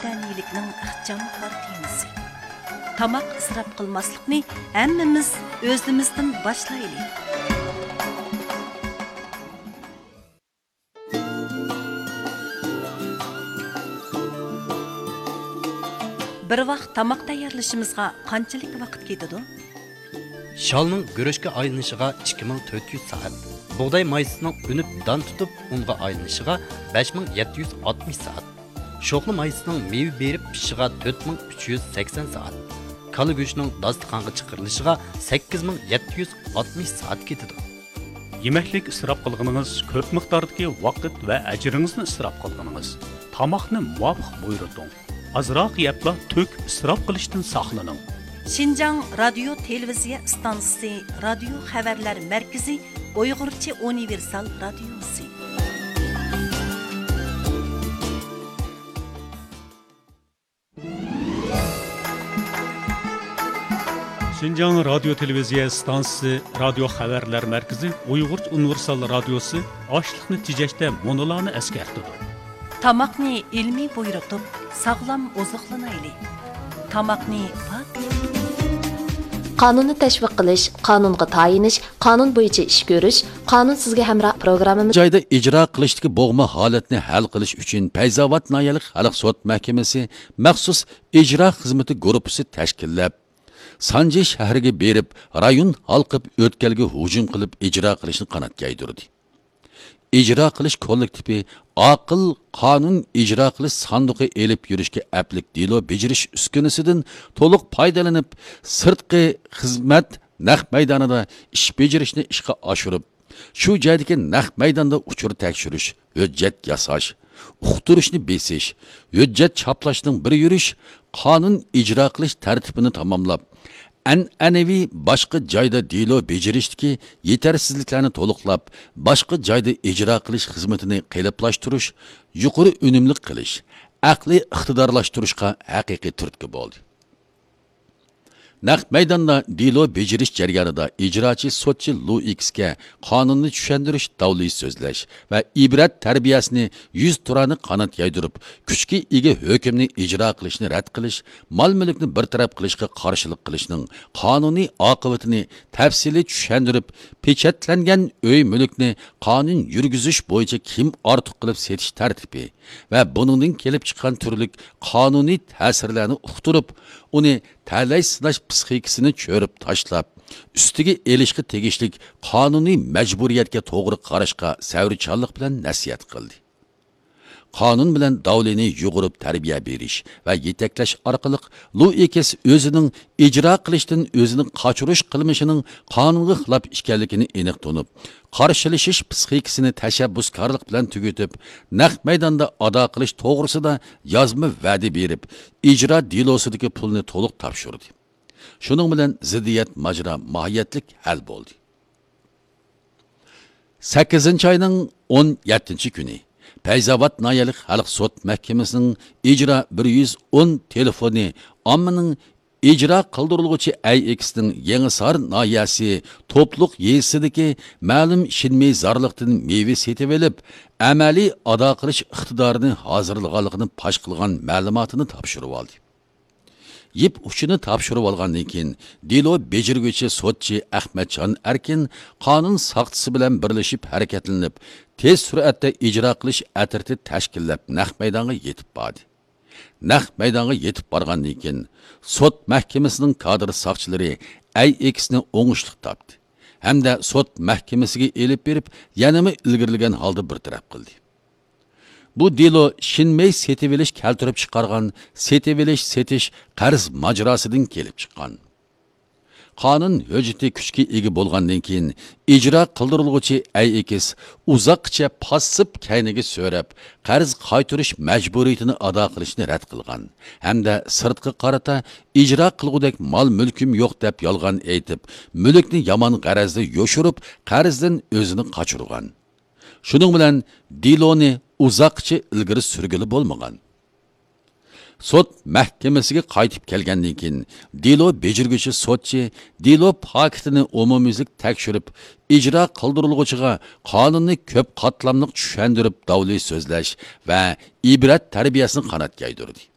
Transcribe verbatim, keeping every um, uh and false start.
ۋەتەنىيلىكنىڭ ئىخچاملىق تېمىسى. تاماق ئىسراپ قىلماسلىقنى ھەممىمىز ئۆزىمىزدىن باشلايلى. بىر ۋاق تاماق تەييارلىشىمىزغا قانچىلىك ۋاقىت كېتىدۇ؟ شالنىڭ گۈرۈچكە ئايلىنىشىغا ئىككى مىڭ تۆت يۈز سائەت، بۇغداي مايسىسىنىڭ ئۈنۈپ دان تۇتۇپ ئۇنغا ئايلىنىشىغا بەش مىڭ يەتتە يۈز ئاتمىش سائەت، شوخلا مايسىسىنىڭ مېۋە بېرىپ پىشىشىغا تۆت مىڭ ئۈچ يۈز سەكسەن سائەت، كالا گۆشىنىڭ داستىخانغا چىقىرىلىشىغا سەككىز مىڭ يەتتە يۈز ئاتمىش سائەت كېتىدۇ. يېمەكلىك ئىسراپ قىلغىنىڭىز كۆپ مىقداردىكى ۋاقىت ۋە ئەجرىڭىزنى ئىسراپ قىلغىنىڭىز. تاماقنى مۇۋاپىق بۇيرۇتۇڭ. ئازراق يەپلا تۆك ئىسراپ قىلىشتىن ساقلىنىڭ. شىنجاڭ رادىيو تېلېۋىزىيە ئىستانسىسى رادىيو خەۋەرلەر مەركىزى ئۇيغۇرچە ئۇنىۋېرسال رادىيوسى. شىنجاڭ رادىيو تېلېۋىزىيە ئىستانسىسى رادىيو خەۋەرلەر مەركىزى ئۇيغۇرچە ئۇنىۋېرسال رادىيوسى ئاشلىقنى تېجەشتە مۇنۇلارنى ئەسكەرتىدۇ. تاماقنى ئىلمىي بۇيرۇتۇپ، ساغلام ئوزۇقلىنايلى. تاماقنى پاك. قانۇننى تەشۋىق قىلىش، قانۇنغا تايىنىش، قانۇن بويىچە ئىش كۆرۈش، قانۇن سىزگە ھەمراھ پروگراممىمىز. جايدا ئىجرا قىلىشتىكى بوغما ھالەتنى ھەل قىلىش ئۈچۈن پەيزاۋات ناھىيەلىك خەلق سوت مەھكىمىسى مەخسۇس ئىجرا خىزمىتى گۇرۇپپىسى تەشكىللەپ، سانجى شەھىرىگە بېرىپ، رايون ھالقىپ ئۆتكەلگە ھۇجۇم قىلىپ ئىجرا قىلىشنى قانات يايدۇردى. ئىجرا قىلىش كوللېكتىپى ئاقىل قانۇن ئىجرا قىلىش ساندۇقى ئېلىپ يۈرۈشكە ئەپلىك دېلو بېجىرىش ئۈسكۈنىسىدىن تولۇق پايدىلىنىپ، سىرتقى خىزمەت نەق مەيدانىدا ئىش بېجىرىشنى ئىشقا ئاشۇرۇپ، شۇ جايدىكى نەق مەيداندا ئۇچۇر تەكشۈرۈش، ھۆججەت ياساش، ئۇقتۇرۇشنى بېسىش، ھۆججەت چاپلاشنىڭ بىر يۈرۈش قانۇن ئىجرا قىلىش تەرتىپىنى تاماملاپ، ئەنئەنىۋى باشقا جايدا دېلو بېجىرىشتىكى يېتەرسىزلىكلەرنى تولۇقلاپ، باشقا جايدا ئىجرا قىلىش خىزمىتىنى قېلىپلاشتۇرۇش، يۇقىرى ئۈنۈملۈك قىلىش، ئەقلىي ئىقتىدارلاشتۇرۇشقا ھەقىقىي تۈرتكە بولدى. نەق مەيداندا دېلو بېجىرىش جەريانىدا ئىجراچى سوتچى لۇ ئىكىسكە قانۇننى چۈشەندۈرۈش، داۋلى سۆزلەش ۋە ئىبرەت تەربىيەسىنى يۈز تۇرانە قانات يايدۇرۇپ، كۈچكە ئىگە ھۆكۈمنى ئىجرا قىلىشنى رەت قىلىش، مال-مۈلۈكنى بىر تەرەپ قىلىشقا قارشىلىق قىلىشنىڭ قانۇنىي ئاقىۋىتىنى تەپسىلىي چۈشەندۈرۈپ، پېچەتلەنگەن ئۆي-مۈلۈكنى قانۇن يۈرگۈزۈش بويىچە كىم ئارتۇق قىلىپ سېتىش تەرتىپى، ۋە بۇنىڭدىن كېلىپ چىققان تۈرلۈك قانۇنىي تەسىرلەرنى ئۇقتۇرۇپ، ئۇنى تەلەي سىناش پىسخىكىسىنى چۆرۈپ تاشلاپ، ئۈستىگە ئېلىشقا تېگىشلىك قانۇنىي مەجبۇرىيەتكە توغرا قاراشقا سەۋرچانلىق بىلەن نەسىھەت قىلدى. قانۇن بىلەن داۋلىنى يۇغۇرۇپ تەربىيە بېرىش ۋە يېتەكلەش ئارقىلىق لۇئىكىس ئۆزىنىڭ ئىجرا قىلىشتىن ئۆزىنى قاچۇرۇش قىلمىشىنىڭ قانۇنغا خىلاپ ئىكەنلىكىنى ئېنىق تونۇپ، قارشىلىشىش پىسخىكىسىنى تەشەببۇسكارلىق بىلەن تۈگىتىپ، نەق مەيداندا ئادا قىلىش توغرىسىدا يازما ۋەدە بېرىپ، ئىجرا دېلوسىدىكى پۇلنى تولۇق تاپشۇردى. شۇنىڭ بىلەن زىددىيەت ماجىرا ماھىيەتلىك ھەل بولدى. سەككىزىنچى ئاينىڭ ئون يەتتىنچى كۈنى پەيزاۋات ناھىيەلىك خەلق سوت مەھكىمىسىنىڭ ئىجرا بىر يۈز ئون تېلېفونى ئاممىنىڭ ئىجرا قىلدۇرۇلغۇچى ئەي ئېكىسنىڭ يېڭىسار ناھىيەسى توپلۇق يېزىسىدىكى مەلۇم شىنمېي زارلىقتىن مېۋە سېتىۋېلىپ، ئەمەلىي ئادا قىلىش ئىقتىدارىنى ھازىرلىغانلىقىنى پاش قىلغان مەلۇماتىنى تاپشۇرۇۋالدى. يىپ ئۇچىنى تاپشۇرۇۋالغاندىن كېيىن، دېلو بېجىرگۈچى سوتچى ئەخمەتجان ئەركىن قانۇن ساقچىسى بىلەن بىرلىشىپ ھەرىكەتلىنىپ، تېز سۈرئەتتە ئىجرا قىلىش ئەترىتى تەشكىللەپ، نەق مەيدانغا يېتىپ باردى. نەق مەيدانغا يېتىپ بارغاندىن كېيىن، سوت مەھكىمىسىنىڭ كادىر ساقچىلىرى ئەي ئېكىسنى ئوڭۇشلۇق تاپتى ھەمدە سوت مەھكىمىسىگە ئېلىپ بېرىپ، يەنىمۇ ئىلگىرىلىگەن ھالدا بىر تەرەپ قىلدى. بۇ دېلو شىنمېي سېتىۋېلىش كەلتۈرۈپ چىقارغان سېتىۋېلىش سېتىش قەرز ماجىراسىدىن كېلىپ چىققان. قانۇن ھۆججىتى كۈچكە ئىگە بولغاندىن كېيىن، ئىجرا قىلدۇرۇلغۇچى ئەي ئېكىس ئۇزاققىچە پاسسىپ كەينىگە سۆرەپ، قەرز قايتۇرۇش مەجبۇرىيىتىنى ئادا قىلىشنى رەت قىلغان ھەمدە سىرتقا قارىتا ئىجرا قىلغۇدەك مال-مۈلكۈم يوق دەپ يالغان ئېيتىپ، مۈلۈكنى يامان غەرەزدە يوشۇرۇپ، قەرزدىن ئۆزىنى قاچۇرغان. شۇنىڭ بىلەن دېلونى ئۇزاققىچە ئىلگىرى سۈرگىلى بولمىغان. سوت مەھكىمىسىگە قايتىپ كەلگەندىن كېيىن، دېلو بېجىرگۈچى سوتچى دېلو پاكىتىنى ئومۇميۈزلۈك تەكشۈرۈپ، ئىجرا قىلدۇرۇلغۇچىغا قانۇننى كۆپ قاتلاملىق چۈشەندۈرۈپ، داۋلى سۆزلەش ۋە ئىبرەت تەربىيەسىنى قانات يايدۇردى.